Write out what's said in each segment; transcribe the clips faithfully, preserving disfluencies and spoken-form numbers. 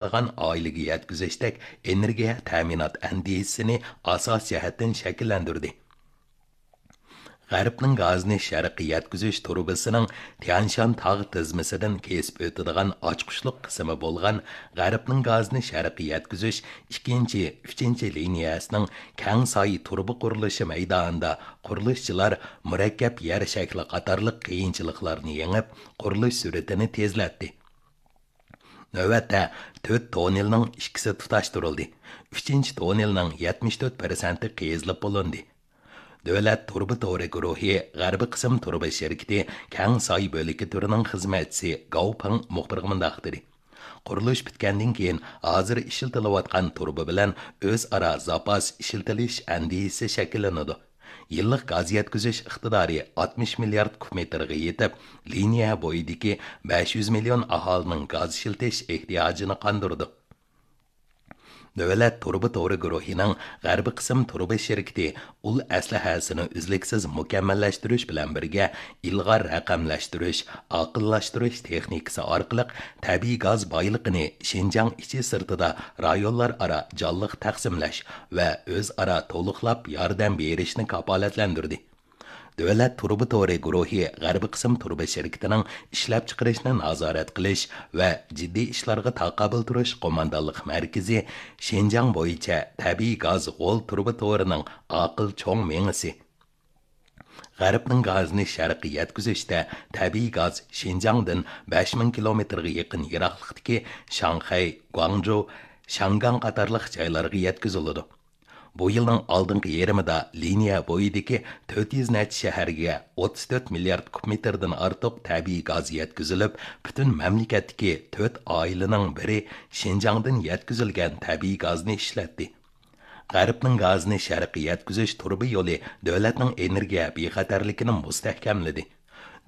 قىلىدىغان ئائىلىگە يەتكۈزۈشتەك ئېنېرگىيە تەمىنات ئەندىزىسىنى ئاساسىي جەھەتتىن شەكىللەندۈردى. غەربنىڭ گازىنى شەرققە يەتكۈزۈش تۇرۇبىسىنىڭ تيەنشان تاغ تىزمىسىدىن كېسىپ ئۆتىدىغان ئاچقۇچلۇق قىسمى بولغان غەربنىڭ گازىنى شەرققە يەتكۈزۈش ئىككىنچى، ئۈچىنچى لىنىيەسىنىڭ كەڭ ساي تۇرۇبا قۇرۇلۇشى مەيدانىدا قۇرۇلۇشچىلار مۇرەككەپ يەر شەكلى قاتارلىق قىيىنچىلىقلارنى يېڭىپ، قۇرۇلۇش سۈرئىتىنى تېزلەتتى. نۆۋەتتە تۆت توننېلنىڭ ئىككىسى تۇتاشتۇرۇلدى. ئۈچىنچى توننېلنىڭ يەتمىش تۆت پىرسەنتى قېزىلىپ بولۇندى. دۆلەت تۇرۇبا تورى گۇرۇھى غەربىي قىسىم تۇرۇبا شىركىتى كەڭ ساي بۆلىكى تۈرىنىڭ خىزمەتچىسى گاۋ پېڭ مۇخبىرغا مۇنداق دېدى: قۇرۇلۇش پۈتكەندىن كېيىن، ھازىر ئىشلىتىلىۋاتقان تۇرۇبا بىلەن ئۆزئارا زاپاس ئىشلىتىلىش ئەندىزىسى شەكىللىنىدۇ. يىللىق گاز يەتكۈزۈش ئىقتىدارى ئاتمىش مىليارد كۇب مېتىرغا يېتىپ، لىنىيە بويىدىكى بەش يۈز مىليون ئاھالىنىڭ گاز ئىشلىتىش ئېھتىياجىنى قاندۇرىدۇ. دۆلەت تۇرۇبا تورى گۇرۇھىنىڭ غەربىي قىسىم تۇرۇبا شىركىتى ئۇل ئەسلىھەسىنى ئۈزلۈكسىز مۇكەممەللەشتۈرۈش بىلەن بىرگە، ئىلغار رەقەملەشتۈرۈش، ئاقىللاشتۇرۇش تېخنىكىسى ئارقىلىق تەبىئىي گاز بايلىقىنى شىنجاڭ ئىچى سىرتىدا رايونلار ئارا جانلىق تەقسىملەش ۋە ئۆزئارا تولۇقلاپ ياردەم بېرىشنى كاپالەتلەندۈردى. دۆلەت تۇرۇبا تورى گۇرۇھى غەربىي قىسىم تۇرۇبا شىركىتىنىڭ ئىشلەپچىقىرىشنى نازارەت قىلىش ۋە جىددىي ئىشلارغا تاقابىل تۇرۇش قوماندانلىق مەركىزى شىنجاڭ بويىچە تەبىئىي گاز غول تۇرۇبا تورىنىڭ ئاقىل چوڭ مېڭىسى. غەربنىڭ گازىنى شەرققە يەتكۈزۈشتە تەبىئىي گاز شىنجاڭدىن بەش مىڭ كىلومېتىرغا يېقىن يىراقلىقتىكى شاڭخەي، گۇاڭجۇ، شياڭگاڭ قاتارلىق جايلارغا يەتكۈزۈلىدۇ. بۇ يىلنىڭ ئالدىنقى يېرىمىدا لىنىيە بويىدىكى تۆت يۈز نەچچە شەھەرگە ئوتتۇز تۆت مىليارد كۇب مېتىردىن ئارتۇق تەبىئىي گاز يەتكۈزۈلۈپ، پۈتۈن مەملىكەتتىكى تۆت ئائىلىنىڭ بىرى شىنجاڭدىن يەتكۈزۈلگەن تەبىئىي گازنى ئىشلەتتى. غەربنىڭ گازىنى شەرققە يەتكۈزۈش تۇرۇبا يولى دۆلەتنىڭ ئېنېرگىيە بىخەتەرلىكىنى مۇستەھكەملىدى.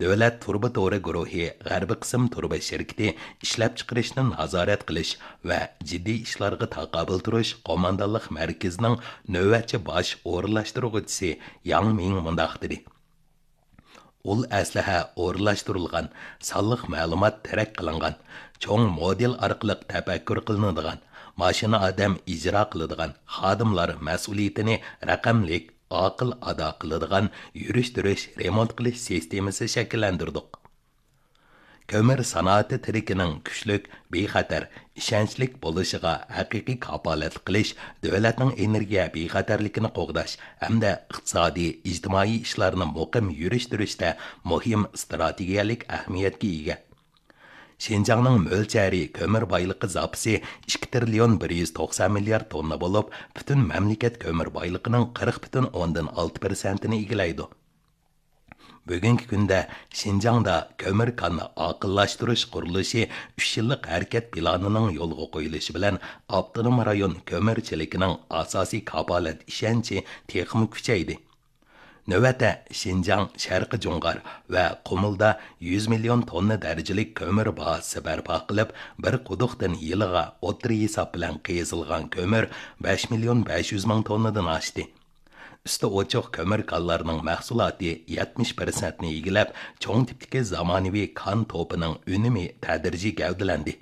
دۆلەت تۇرۇبا تورى گۇرۇھى غەربىي قىسىم تۇرۇبا شىركىتى ئىشلەپچىقىرىشنى نازارەت قىلىش ۋە جىددىي ئىشلارغا تاقابىل تۇرۇش قوماندانلىق مەركىزىنىڭ نۆۋەتچى باش ئورۇنلاشتۇرغۇچىسى ياڭ مىڭ مۇنداق دېدى: ئۇل ئەسلىھە ئورۇنلاشتۇرۇلغان، سانلىق مەلۇمات تەرەت قىلىنغان، چوڭ مودېل ئارقىلىق تەپەككۇر قىلىنىدىغان، ماشىنا ئادەم ئىجرا قىلىدىغان، خادىملار مەسئۇلىيىتىنى رەقەملىك، ئاقىل ئادا قىلىدىغان يۈرۈشتۈرۈش، رېمونت قىلىش سىستېمىسى شەكىللەندۈردۇق. كۆمۈر سانائىتى تىرىكىنىڭ كۈچلۈك، بىخەتەر، ئىشەنچلىك بولۇشىغا ھەقىقىي كاپالەتلىك قىلىش دۆلەتنىڭ ئېنېرگىيە بىخەتەرلىكىنى قوغداش ھەمدە ئىقتىسادىي، ئىجتىمائىي ئىشلارنى مۇقىم يۈرۈشتۈرۈشتە مۇھىم ئىستراتېگىيەلىك ئەھمىيەتكە ئىگە. شىنجاڭنىڭ مۆلچەرى كۆمۈر بايلىقى زاپىسى ئىككى تىرىليون بىر يۈز توقسان مىليارد توننا بولۇپ، پۈتۈن مەملىكەت كۆمۈر بايلىقىنىڭ قىرىق پۈتۈن ئوندىن ئالتە پىرسەنتىنى ئىگىلەيدۇ. بۈگۈنكى كۈندە شىنجاڭدا كۆمۈر كاننى ئاقىللاشتۇرۇش قۇرۇلۇشى ئۈچ يىللىق ھەرىكەت پىلانىنىڭ يولغا قويۇلۇشى بىلەن ئاپتونوم رايون كۆمۈر چېلىكىنىڭ ئاساسىي كاپالەت ئىشەنچى تېخىمۇ كۈچەيدى. نۆۋەتتە شىنجاڭ، شەرقىي جۇڭغار ۋە قۇمۇلدا يۈز مىليون توننا دەرىجىلىك كۆمۈر بازىسى بەرپا قىلىپ، بىر قۇدۇقتىن يىلىغا ئوتتۇرا ھېساب بىلەن قېزىلغان كۆمۈر بەش مىليون بەش يۈز مىڭ توننىدىن ئاشتى. ئۈستى ئوچۇق كۆمۈر كانلارنىڭ مەھسۇلاتى يەتمىش پىرسەنتنى ئىگىلەپ، چوڭ تىپتىكى زامانىۋى كان توپىنىڭ ئۈنۈمى تەدرىجىي گەۋدىلەندى.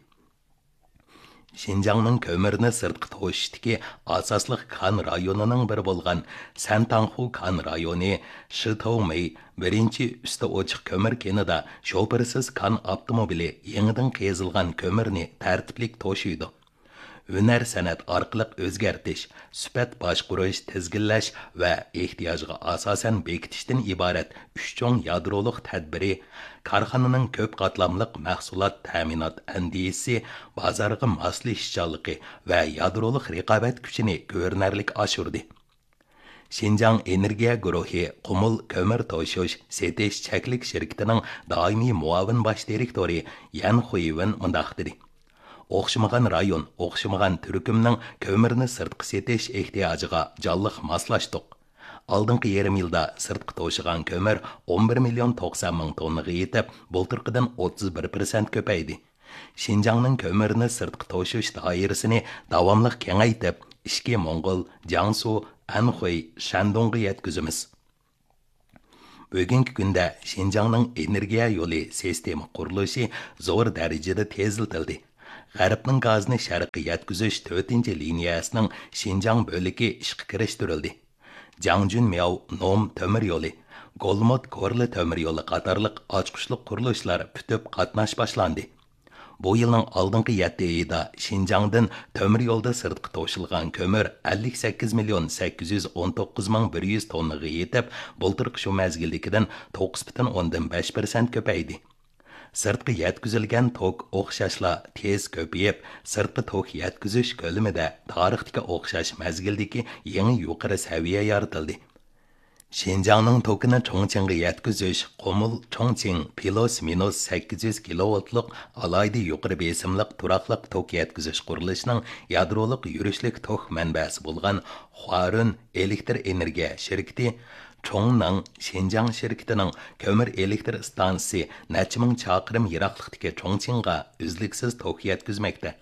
شىنجاڭنىڭ كۆمۈرنى سىرتقا توشۇشتىكى ئاساسلىق كان رايونىنىڭ بىرى بولغان سەنتاڭخۇ كان رايونى شىتاۋمېي بىرىنچى ئۈستى ئوچۇق كۆمۈر كېنىدا شوپۇرسىز كان ئاپتوموبىلى يېڭىدىن قېزىلغان كۆمۈرنى تەرتىپلىك توشۇيدۇ. ھۈنەر سەنئەت ئارقىلىق ئۆزگەرتىش، سۈپەت باشقۇرۇش، تىزگىنلەش ۋە ئېھتىياجغا ئاساسەن بېكىتىشتىن ئىبارەت ئۈچ چوڭ يادرولۇق تەدبىرى، كارخانىنىڭ كۆپ قاتلاملىق مەھسۇلات تەمىنات ئەندىزىسى، بازارغا ماسلىشىشچانلىقى ۋە يادرولۇق رىقابەت كۈچىنى كۆرۈنەرلىك ئاشۇردى. شىنجاڭ ئېنېرگىيە گۇرۇھى قۇمۇل كۆمۈر توشۇش، سېتىش چەكلىك شىركىتىنىڭ دائىمىي مۇئاۋىن باش دىرېكتورى يەن خۇيۋېن مۇنداق دېدى: ئوخشىمىغان رايون، ئوخشىمىغان تۈركۈمنىڭ كۆمۈرنى سىرتقا سېتىش ئېھتىياجىغا جانلىق ماسلاشتۇق. ئالدىنقى يېرىم يىلدا سىرتقا توشۇغان كۆمۈر ئون بىر مىليون توقسان مىڭ توننىغا يېتىپ، بۇلتۇرقىدىن ئوتتۇز بىر پىرسەنت كۆپەيدى. شىنجاڭنىڭ كۆمۈرنى سىرتقا توشۇش دائىرىسىنى داۋاملىق كېڭەيتىپ، ئىچكى موڭغۇل، جياڭسۇ، ئەنخۇي، شەندۇڭغا يەتكۈزىمىز. بۈگۈنكى كۈندە شىنجاڭنىڭ ئېنېرگىيە يولى سىستېما قۇرۇلۇشى زور دەرىجىدە تېزلىتىلدى. غەربنىڭ گازىنى شەرققە يەتكۈزۈش تۆتىنچى لىنىيەسىنىڭ شىنجاڭ بۆلىكى ئىشقا كىرىشتۈرۈلدى. جاڭجۈنمياۋ نوم تۆمۈر يولى، گولمۇت كورلا تۆمۈر يولى قاتارلىق ئاچقۇچلۇق قۇرۇلۇشلار پۈتۈپ، قاتناش باشلاندى. بۇ يىلنىڭ ئالدىنقى يەتتە ئېيىدا شىنجاڭدىن تۆمۈر يولدا سىرتقا توشۇلغان كۆمۈر ئەللىك سەككىز مىليون سەككىز يۈز ئون توققۇز مىڭ بىر يۈز توننىغا يېتىپ، بۇلتۇرقى شۇ مەزگىلدىكىدىن توققۇز پۈتۈن ئوندىن بەش پىرسەنت كۆپەيدى. سىرتقا يەتكۈزۈلگەن توك ئوخشاشلا تېز كۆپىيىپ، سىرتقا توك يەتكۈزۈش كۆلىمىدە تارىختىكى ئوخشاش مەزگىلدىكى يېڭى يۇقىرى سەۋىيە يارىتىلدى. شىنجاڭنىڭ توكىنى چۇڭچىڭغا يەتكۈزۈش، قۇمۇل چۇڭچىڭ پلۇس مىنۇس سەككىز يۈز كىلوۋولتلۇق ئالاھىدە يۇقىرى بېسىملىق تۇراقلىق توك يەتكۈزۈش قۇرۇلۇشىنىڭ يادرولۇق يۈرۈشلۈك توك مەنبەسى بولغان خۇارۈن ئېلېكتر ئېنېرگىيە شىركىتى چۇڭنىڭ شىنجاڭ شىركىتىنىڭ كۆمۈر ئېلېكتر ئىستانسىسى نەچچە مىڭ چاقىرىم يىراقلىقتىكى چۇڭچىڭغا ئۈزلۈكسىز توك يەتكۈزمەكتە.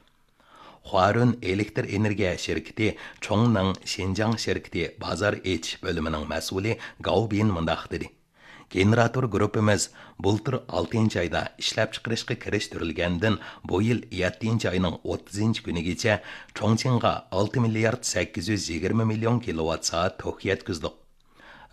خۇارۈن ئېلېكتر ئېنېرگىيە شىركىتى چۇڭنىڭ شىنجاڭ شىركىتى بازار ئېچىش بۆلۈمىنىڭ مەسئۇلى گاۋ بىن مۇنداق دېدى: گېنېراتور گۇرۇپپىمىز بۇلتۇر ئالتىنچى ئايدا ئىشلەپچىقىرىشقا كىرىشتۈرۈلگەندىن، بۇ يىل يەتتىنچى ئاينىڭ ئوتتۇزىنچى كۈنىگىچە چۇڭچىڭغا ئالتە مىليارد سەككىز يۈز يىگىرمە مىليون كىلوۋات سائەت توك يەتكۈزدۇق.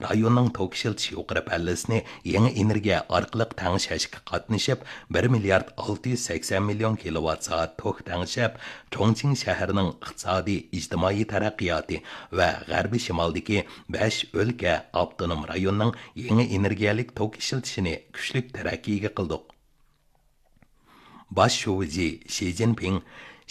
رايوننىڭ توك ئىشلىتىش يۇقىرى پەللىسىنى يېڭى ئېنېرگىيە ئارقىلىق تەڭشەشكە قاتنىشىپ، بىر مىليارد ئالتە يۈز سەكسەن مىليون كىلوۋات سائەت توك تەڭشەپ، چۇڭچىڭ شەھىرىنىڭ ئىقتىسادىي، ئىجتىمائىي تەرەققىياتى ۋە غەربىي شىمالدىكى بەش ئۆلكە، ئاپتونوم رايوننىڭ يېڭى ئېنېرگىيەلىك توك ئىشلىتىشىنى كۈچلۈك تەرەققىيگە قىلدۇق. باش شۇجى شى جىنپىڭ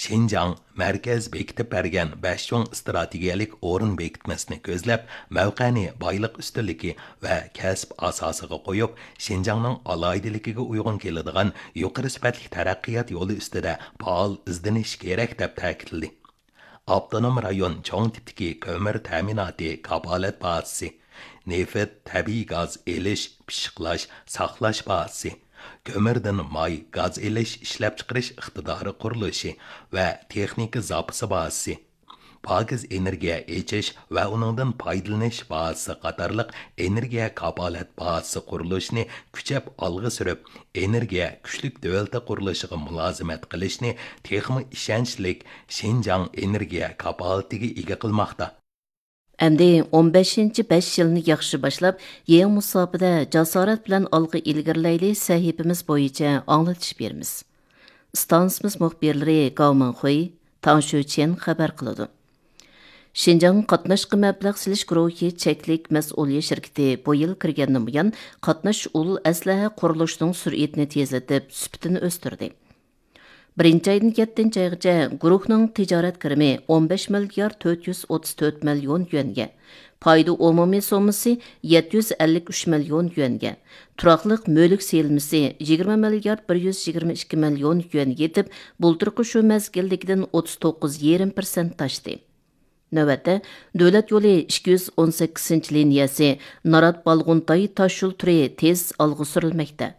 شىنجاڭ مەركەز بېكىتىپ بەرگەن بەش چوڭ ئىستراتېگىيەلىك ئورۇن بېكىتمىسىنى كۆزلەپ، مەۋقەنى بايلىق ئۈستۈنلۈكى ۋە كەسىپ ئاساسىغا قويۇپ، شىنجاڭنىڭ ئالاھىدىلىكىگە ئۇيغۇن كېلىدىغان يۇقىرى سۈپەتلىك تەرەققىيات يولى ئۈستىدە پائال ئىزدىنىش كېرەك، دەپ تەكىتلىدى. ئاپتونوم رايون چوڭ تىپتىكى كۆمۈر تەمىناتى كاپالەت بازىسى، نېفىت، تەبىئىي گاز ئېلىش، پىششىقلاش، ساقلاش بازىسى، كۆمۈردىن ماي، گاز ئېلىش، ئىشلەپچىقىرىش ئىقتىدارى قۇرۇلۇشى ۋە تېخنىكا زاپىسى بازىسى، پاكىز ئېنېرگىيە ئېچىش ۋە ئۇنىڭدىن پايدىلىنىش بازىسى قاتارلىق ئېنېرگىيە كاپالەت بازىسى قۇرۇلۇشىنى كۈچەپ ئالغا سۈرۈپ، ئېنېرگىيە كۈچلۈك دۆلىتى قۇرۇلۇشىغا مۇلازىمەت قىلىشنى تېخىمۇ ئىشەنچلىك شىنجاڭ ئېنېرگىيە كاپالىتىگە ئىگە قىلماقتا. ئەمدى ئون بەشىنچى بەش يىلنى ياخشى باشلاپ، يېڭى مۇساپىدە جاسارەت بىلەن ئالغا ئىلگىرىلەيلى سەھىپىمىز بويىچە ئاڭلىتىش بېرىمىز. ئىستانسىمىز مۇخبىرلىرى گاۋ مىڭخۇي، تاڭ شۈچيەن خەۋەر قىلىدۇ. شىنجاڭ قاتناشقا مەبلەغ سېلىش گۇرۇھى چەكلىك مەسئۇلىيەت شىركىتى بۇ يىل كىرگەندىن بۇيان قاتناش ئۇل ئەسلىھە قۇرۇلۇشىنىڭ سۈرئىتىنى تېزلىتىپ، سۈپىتىنى ئۆستۈردى. بىرىنچى ئايدىن يەتتىنچى ئايغىچە گۇرۇھنىڭ تىجارەت كىرىمى ئون بەش مىليارد تۆت يۈز ئوتتۇز تۆت مىليون يۈەنگە، پايدا ئومۇمىي سوممىسى يەتتە يۈز ئەللىك ئۈچ مىليون يۈەنگە، تۇراقلىق مۈلۈك سېلىنمىسى يىگىرمە مىليارد بىر يۈز يىگىرمە ئىككى مىليون يۈەنگە يېتىپ، بۇلتۇرقى شۇ مەزگىلدىكىدىن ئوتتۇز توققۇز يېرىم پىرسەنت ئاشتى. نۆۋەتتە، دۆلەت يولى ئىككى يۈز ئون سەككىزىنچى لىنىيەسى نارات بالغۇنتاي تاشيول تۈرى تېز ئالغا سۈرۈلمەكتە.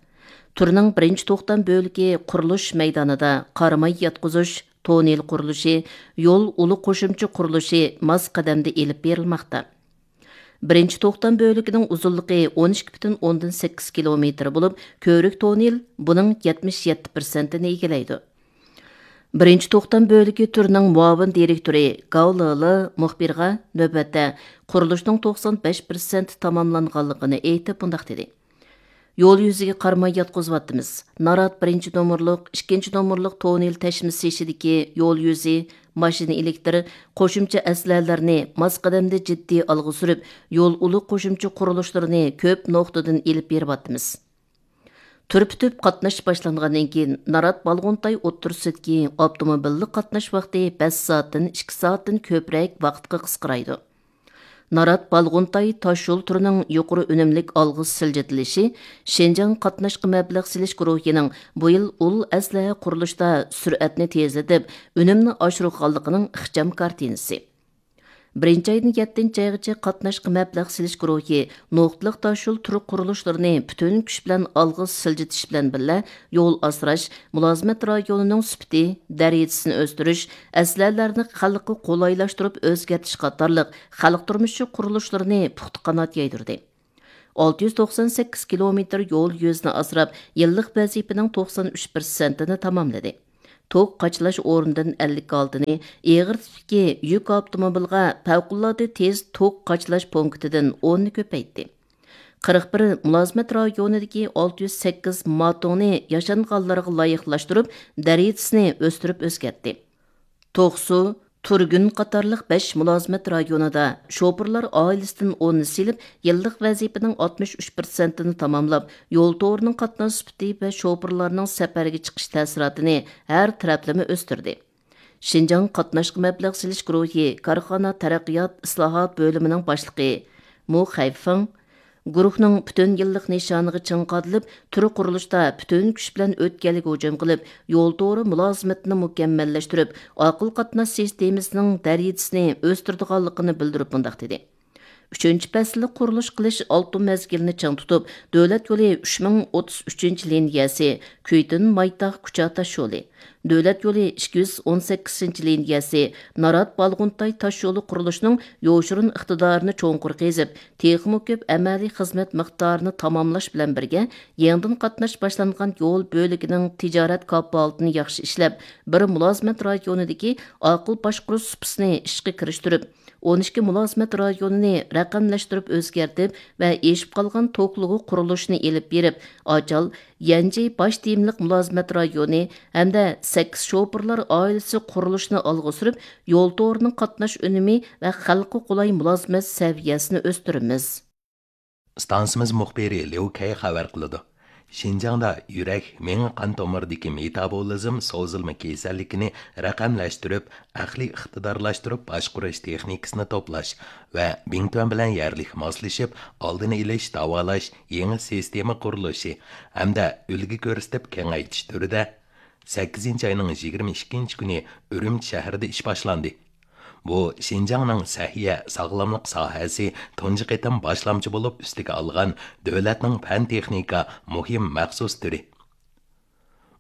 تۈرنىڭ بىرىنچى توختام بۆلىكى قۇرۇلۇش مەيدانىدا قاراماي ياتقۇزۇش، توننېل قۇرۇلۇشى، يول ئۇلى قوشۇمچە قۇرۇلۇشى ماس قەدەمدە ئېلىپ بېرىلماقتا. بىرىنچى توختام بۆلىكىنىڭ ئۇزۇنلۇقى ئون ئىككى پۈتۈن ئوندىن سەككىز كىلومېتىر بولۇپ، كۆۋرۈك توننېل بۇنىڭ يەتمىش يەتتە پىرسەنتىنى ئىگىلەيدۇ. بىرىنچى توختام بۆلىكى تۈرىنىڭ مۇئاۋىن دىرېكتورى گاۋ لېلې مۇخبىرغا نۆۋەتتە قۇرۇلۇشنىڭ توقسان بەش پىرسەنت تاماملانغانلىقىنى ئېيتىپ، مۇنداق دېدى: يول يۈزىگە قارىماي ياتقۇزۇۋاتىمىز. نارات بىرىنچى نومۇرلۇق، ئىككىنچى نومۇرلۇق توننېل تەشمىسى ئىچىدىكى يول يۈزى، ماشىنا ئېلېكتىر، قوشۇمچە ئەسلىھەلەرنى ماس قەدەمدە جىددىي ئالغا سۈرۈپ، يول ئۇلى قوشۇمچە قۇرۇلۇشلىرىنى كۆپ نۇقتىدىن ئېلىپ بېرىۋاتىمىز. تۈر پۈتۈپ قاتناش باشلانغاندىن كېيىن، نارات بالغۇنتاي ئوتتۇرىسىدىكى ئاپتوموبىللىق قاتناش ۋاقتى بەش سائەتتىن ئىككى سائەتتىن كۆپرەك ۋاقىتقا قىسقىرايدۇ. نارات بالغۇنتاي تاشيول تۈرىنىڭ يۇقىرى ئۈنۈملۈك ئالغا سىلجىتىلىشى شىنجاڭ قاتناشقا مەبلەغ سېلىش گۇرۇھىنىڭ بۇ يىل ئۇل ئەسلىھە قۇرۇلۇشتا سۈرئەتنى تېزلىتىپ، ئۈنۈمنى ئاشۇرغانلىقىنىڭ ئىخچام كارتىنىسى. بىرىنچى ئايدىن يەتتىنچى ئايغىچە قاتناشقا مەبلەغ سېلىش گۇرۇھى نۇقتىلىق تاشيول تۈر قۇرۇلۇشلىرىنى پۈتۈن كۈچ بىلەن ئالغا سىلجىتىش بىلەن بىللە، يول ئاسراش، مۇلازىمەت رايونىنىڭ سۈپىتى، دەرىجىسىنى ئۆستۈرۈش، ئەسلىھەلەرنى خەلققە قولايلاشتۇرۇپ ئۆزگەرتىش قاتارلىق خەلق تۇرمۇشى قۇرۇلۇشلىرىنى پۇختا قانات يايدۇردى. ئالتە يۈز توقسان سەككىز كىلومېتىر يول يۈزىنى ئاسراپ، يىللىق ۋەزىپىنىڭ توقسان ئۈچ پىرسەنتىنى تاماملىدى. توك قاچىلاش ئورنىدىن ئەللىك ئالتىنى، ئېغىر تىپتىكى يۈك ئاپتوموبىلغا پەۋقۇلئاددە تېز توك قاچىلاش پونكىتىدىن ئوننى كۆپەيتتى. قىرىق بىر مۇلازىمەت رايونىدىكى ئالتە يۈز سەككىز ماتوڭنى ياشانغانلارغا لايىقلاشتۇرۇپ، دەرىجىسىنى ئۆستۈرۈپ ئۆزگەرتتى. توقسۇ، تۇرگۈن قاتارلىق بەش مۇلازىمەت رايونىدا شوپۇرلار ئائىلىسىدىن ئوننى سېلىپ، يىللىق ۋەزىپىنىڭ ئاتمىش ئۈچ پىرسەنتىنى تاماملاپ، يول تورىنىڭ قاتناش سۈپىتى ۋە شوپۇرلارنىڭ سەپەرگە چىقىش تەسىراتىنى ھەر تەرەپلىمە ئۆستۈردى. شىنجاڭ قاتناشقا مەبلەغ سېلىش گۇرۇھى كارخانا تەرەققىيات ئىسلاھات بۆلۈمىنىڭ باشلىقى مو خەيفېڭ، گۇرۇھنىڭ پۈتۈن يىللىق نىشانىغا چىڭ قادىلىپ، تۈر قۇرۇلۇشتا پۈتۈن كۈچ بىلەن ئۆتكەلگە ھۇجۇم قىلىپ، يول تورى مۇلازىمىتىنى مۇكەممەللەشتۈرۈپ، ئاقىل قاتناش سىستېمىسىنىڭ دەرىجىسىنى ئۆستۈرىدىغانلىقىنى بىلدۈرۈپ مۇنداق دېدى: ئۈچىنچى پەسىللىك قۇرۇلۇش قىلىش ئالتۇن مەزگىلىنى چىڭ تۇتۇپ، دۆلەت يولى ئۈچ مىڭ ئوتتۇز ئۈچىنچى لىنىيەسى، كۈيتۈن مايتاغ كۇچا تاشيولى، دۆلەت يولى ئىككى يۈز ئون سەككىزىنچى لىنىيەسى، نارات بالغۇنتاي تاشيولى قۇرۇلۇشىنىڭ يوشۇرۇن ئىقتىدارىنى چوڭقۇر قېزىپ، تېخىمۇ كۆپ ئەمەلىي خىزمەت مىقدارىنى تاماملاش بىلەن بىرگە، يېڭىدىن قاتناش باشلانغان يول بۆلىكىنىڭ تىجارەت كاپالىتىنى ياخشى ئىشلەپ، بىر مۇلازىمەت رايونىدىكى ئاقىل باشقۇرۇش سۇپىسىنى ئىشقا كىرىشتۈرۈپ، ئون ئىككى مۇلازىمەت رايونىنى رەقەملەشتۈرۈپ ئۆزگەرتىپ ۋە ئېشىپ قالغان توكلۇغۇ قۇرۇلۇشىنى ئېلىپ بېرىپ، ئاچال، يەنجى باش تېمىلىق مۇلازىمەت رايونى ھەمدە سەككىز شوپۇرلار ئائىلىسى قۇرۇلۇشىنى ئالغا سۈرۈپ، يول تورىنىڭ قاتناش ئۈنۈمى ۋە خەلققە قولاي مۇلازىمەت سەۋىيەسىنى ئۆستۈرىمىز. ئىستانسىمىز مۇخبىرى ليۇ كەي خەۋەر قىلىدۇ. شىنجاڭدا يۈرەك، مېڭە قان تومۇرىدىكى مېتابولىزم سوزۇلما كېسەللىكىنى رەقەملەشتۈرۈپ، ئەقلىي ئىقتىدارلاشتۇرۇپ باشقۇرۇش تېخنىكىسىنى توپلاش ۋە بىڭتۈەن بىلەن يەرلىك ماسلىشىپ، ئالدىنى ئېلىش، داۋالاش يېڭى سىستېما قۇرۇلۇشى ھەمدە ئۈلگە كۆرسىتىپ كېڭەيتىش تۈرىدە سەككىزىنچى ئاينىڭ يىگىرمە ئىككىنچى كۈنى ئۈرۈمچى شەھىرىدە ئىش باشلاندى. بۇ شىنجاڭنىڭ سەھىيە، ساغلاملىق ساھەسى تۇنجى قېتىم باشلامچى بولۇپ ئۈستىگە ئالغان دۆلەتنىڭ پەن تېخنىكا مۇھىم مەخسۇس تۈرى.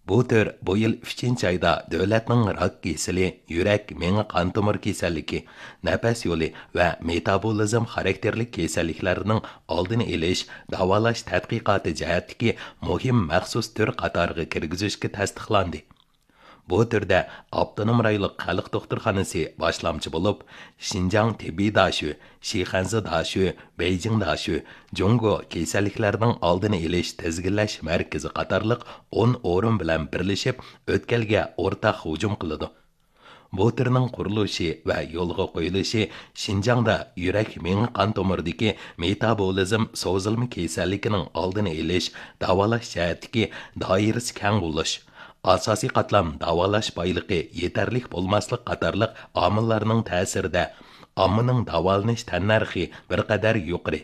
بۇ تۈر بۇ يىل ئۈچىنچى ئايدا دۆلەتنىڭ راك كېسىلى، يۈرەك، مېڭە قان تومۇر كېسەللىكى، نەپەس يولى ۋە مېتابولىزم خاراكتېرلىك كېسەللىكلەرنىڭ ئالدىنى ئېلىش، داۋالاش تەتقىقاتى جەھەتتىكى مۇھىم مەخسۇس تۈر قاتارىغا كىرگۈزۈشكە تەستىقلاندى. بۇ تۈردە ئاپتونوم رايونلۇق خەلق دوختۇرخانىسى باشلامچى بولۇپ، شىنجاڭ تېببىي داشۆ، شىخەنزە داشۆ، بېيجىڭ داشۆ، جۇڭگو كېسەللىكلەرنىڭ ئالدىنى ئېلىش تىزگىنلەش مەركىزى قاتارلىق ئون ئورۇن بىلەن بىرلىشىپ، ئۆتكەلگە ئورتاق ھۇجۇم قىلىدۇ. بۇ تۈرنىڭ قۇرۇلۇشى ۋە يولغا قويۇلۇشى شىنجاڭدا يۈرەك، مېڭە قان تومۇرىدىكى مېتابولىزم سوزۇلما كېسەللىكىنىڭ ئالدىنى ئېلىش، داۋالاش جەھەتتىكى دائىرىسى كەڭ بولۇش، ئاساسىي قاتلام داۋالاش بايلىقى يېتەرلىك بولماسلىق قاتارلىق ئامىللارنىڭ تەسىرىدە، ئاممىنىڭ داۋالىنىش تەننەرخى بىر قەدەر يۇقىرى.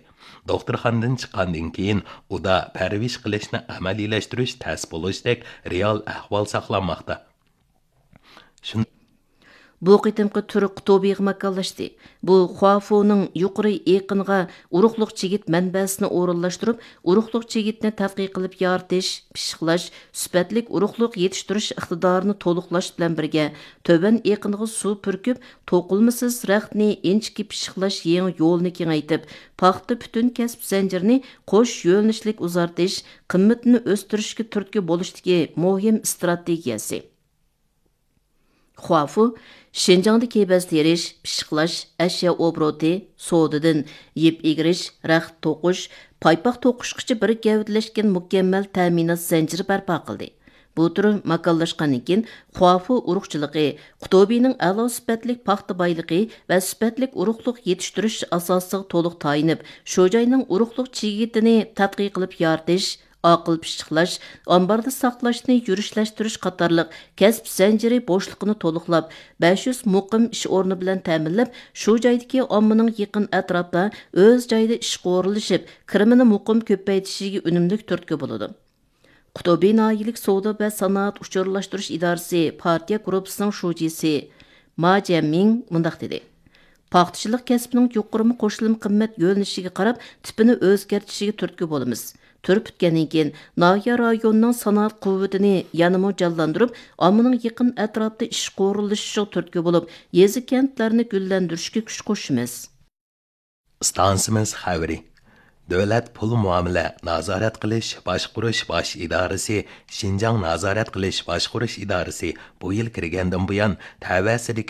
دوختۇرخانىدىن چىققاندىن كېيىن ئۇدا پەرۋىش قىلىشنى ئەمەلىيلەشتۈرۈش تەس بولۇشتەك رېئال ئەھۋال ساقلانماقتا. شۇن- بۇ قېتىمقى تۈر قۇتۇبىغا ماكانلاشتى. بۇ خۇافۇنىڭ يۇقىرى ئېقىنغا ئۇرۇقلۇق چىگىت مەنبەسىنى ئورۇنلاشتۇرۇپ، ئۇرۇقلۇق چىگىتنى تەتقىق قىلىپ يارىتىش، پىششىقلاش، سۈپەتلىك ئۇرۇقلۇق يېتىشتۈرۈش ئىقتىدارىنى تولۇقلاش بىلەن بىرگە، تۆۋەن ئېقىنغا سۇ پۈركۈپ، توقۇلمىسىز رەختنى ئىنچىكە پىششىقلاش يېڭى يولىنى كېڭەيتىپ، پاختا پۈتۈن كەسىپ زەنجىرىنى قوش يۆنىلىشلىك ئۇزارتىش، قىممىتىنى ئۆستۈرۈشكە تۈرتكە بولۇشتىكى مۇھىم ئىستراتېگىيەسى. خۇافۇ شىنجاڭدا كېۋەز تېرىش، پىششىقلاش، ئەشيا ئوبوروتى، سودىدىن يىپ ئېگىرىش، رەخت توقۇش، پايپاق توقۇشقىچە بىر گەۋدىلەشكەن مۇكەممەل تەمىنات زەنجىرى بەرپا قىلدى. بۇ تۈر ماكانلاشقاندىن كېيىن، خۇافۇ ئۇرۇقچىلىقى، قۇتۇبىنىڭ ئەلا سۈپەتلىك پاختا بايلىقى ۋە سۈپەتلىك ئۇرۇقلۇق يېتىشتۈرۈش ئاساسىغا تولۇق تايىنىپ، شۇ جاينىڭ ئۇرۇقلۇق چىگىتىنى تەتقىق قىلىپ يارىتىش، ئاقىل پىششىقلاش، ئامباردا ساقلاشنى يۈرۈشلەشتۈرۈش قاتارلىق كەسىپ زەنجىرى بوشلۇقىنى تولۇقلاپ، بەش يۈز مۇقىم ئىش ئورنى بىلەن تەمىنلەپ، شۇ جايدىكى ئاممىنىڭ يېقىن ئەتراپتا ئۆز جايىدا ئىشقا ئورۇنلىشىپ، كىرىمىنى مۇقىم كۆپەيتىشىگە ئۈنۈملۈك تۈرتكە بولىدۇ. قۇتۇبى ناھىيەلىك سودا ۋە سانائەت ئۇچۇرلاشتۇرۇش ئىدارىسى پارتىيە گۇرۇپپىسىنىڭ شۇجىسى ما جيەنمىڭ مۇنداق دېدى: پاختىچىلىق كەسپىنىڭ يۇقىرىمۇ قوشۇلما قىممەت يۆنىلىشىگە قاراپ، تىپىنى ئۆزگەرتىشىگە تۈرتكە بولىمىز. تۈر پۈتكەندىن كېيىن، ناھىيە رايونىنىڭ سانائەت قۇۋۋىتىنى يەنىمۇ جانلاندۇرۇپ، ئاممىنىڭ يېقىن ئەتراپتا ئىشقا ئورۇنلىشىشىغا تۈرتكە بولۇپ، يېزا، كەنتلەرنى گۈللەندۈرۈشكە كۈچ قوشىمىز. ئىستانسىمىز خەۋىرى. دۆلەت پۇل مۇئامىلە نازارەت قىلىش باشقۇرۇش باش ئىدارىسى، شىنجاڭ نازارەت قىلىش باشقۇرۇش ئىدارىسى بۇ يىل كىرگەندىن بۇيان، تەۋەسىدىكى